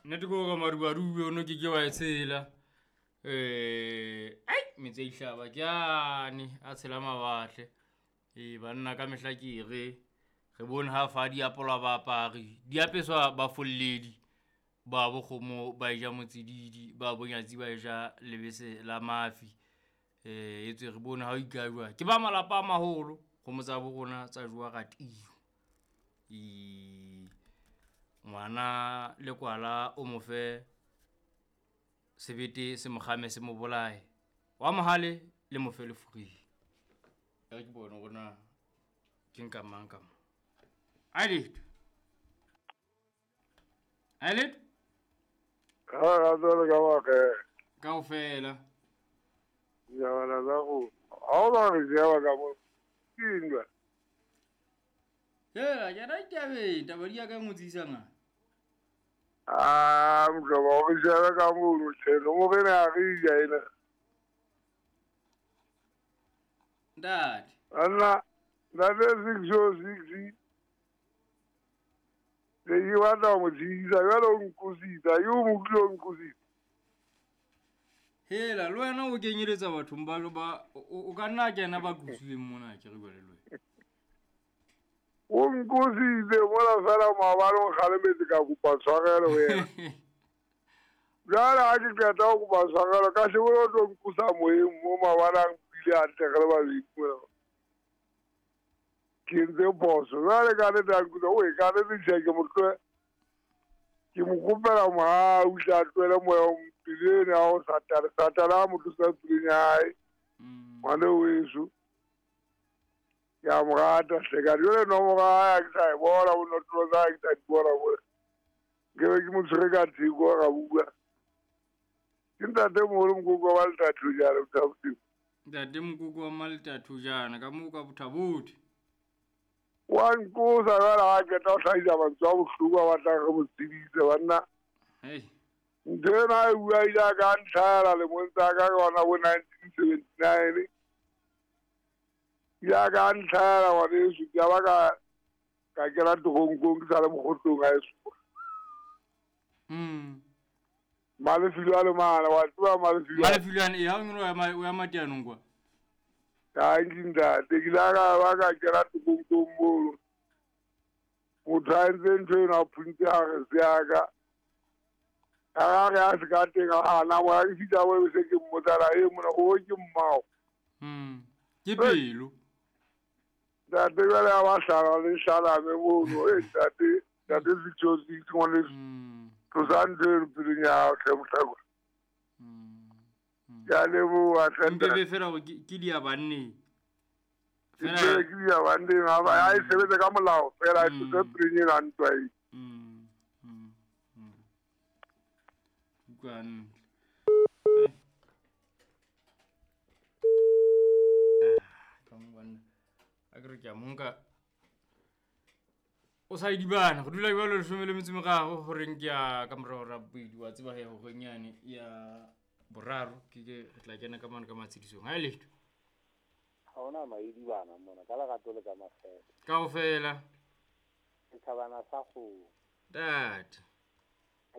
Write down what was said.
Nnete ke gore madubadubi ono ke ke wa e tshela. Ai metse a ihlaba ke ane a tshela mawatle. Ee banna ka mehla ke re re bone ha fa di apolwa baapari di apeswa bafolledi ba bokgomo ba e ja motsididi ba bonyatsi ba e ja lebese la mafi. Etswe re bone ha o ikajwa ke ba malapa a maholo kgomo tsa bo rona tsa jowa ratio. Ngwana lekwala o mo fe sebete se mokgame se mo bolaye, wa mohale le mo fe lefureng. E re ke bone hore na ke nka mang ka mo. Ai letho. Ai letho. Ka rato le ka makge. Kaofela. Dijabana tsa go. Ha o ba re jeba ka mo. Ke eng jwale? Hela, ke rata ditabeng, taba di ya ka ngotsisa nga. Ah, mhlobo, o re jebe ka mono, hle, nomoro ena ha re ja ena. Ntate. Banna, ntate 606. Ne ke batla ho mo tshedisa, jwale o nqositse, ha ke o mo utlwile o nqositse. Hela, le wena o kenyeletsa bathong ba, ba, o ka nna kena ba qositseng mona, ke re jwale le wena. O nqositse mona fela maobane o nkgalemetse ka kopa tshwarelo ho yena. Jwale ha ke qeta ho kopa tshwarelo, ka shebile o tlo nqosa moyeng mo maobane a mpile hantle re le babedi mona. Ke entse phoso. Jwale ka nnete a nkutlwa, oe, ka nnete tjhe, ke mo tlohe-, ke mo kopela mohau, hle a tlohele moya o tseleng ya ho Satane. Satane a mo tlosa tseleng ya hae. Ngwana weso. Ke a mo rata hle, ka jwale nomoro ya hae ha ke sa e bona, bo notlolo tsa hae ha ke sa di bona mona. Nke be ke mo tshwere ka theko ra bua. Ke ntatemoholo Mokoko wa Maletathojana, Bothabotho. Ntate Mokoko wa Maletathojana, ka moo ka Bothabotho. Wa nqosa jwale ha qeta ho hlahisa mantswe a bohloko a batlang re mo tsebise, banna. Hei. Ntho ena e bua ile ya ka ntlhahela lemong tsa ka ka yona bo 1979. Ya ka ntlhahela ngwaneso, ke a ba ka kena teronkong ke sa le mokgotlong ha eso. Malefilo a le mane, wa tseba Malefilo a- Malefilo a ne, ee, ha o nyolo o ya Mateanong kwa. Tanki ntate, ke ile ka ba ka kena teronkong mono. Motho a entse ntho eno a phuntse harese ya ka. A re a se ka teng, a hana moya, ke fihla moo se ke mmotsa la, e mona, o ke mmao. Ke pelo. Ntate jwale a ba hlala le hlalame mono. E ntate, ntate Setsotsi, ke ngwaneso. Tlosa ntho eno pelong ya hao, hle mohlakwa. Ke a leboha, hle Mpe ntate. be fela hore ke di ya banneng. Ke Fela tsebe ke di ya banneng, ha ba, ha e sebetse ka molao fela, e tlose pelong ena ntwa e. Utlwa hantle. Ah, ka mo banna. A ke re ke a mo nka. O sa idibana, go dula jwalo 13 horeng ke ya ka morao ra bobedi, wa tseba he horeng yane ya boraro, ke ke re tla kena ka mane ka matshedisong. Ha e letho. Ha hona maidibana mona, ka lerato le ka makgethe. Kaofela. Setjhabana sa kgomo. Ntate.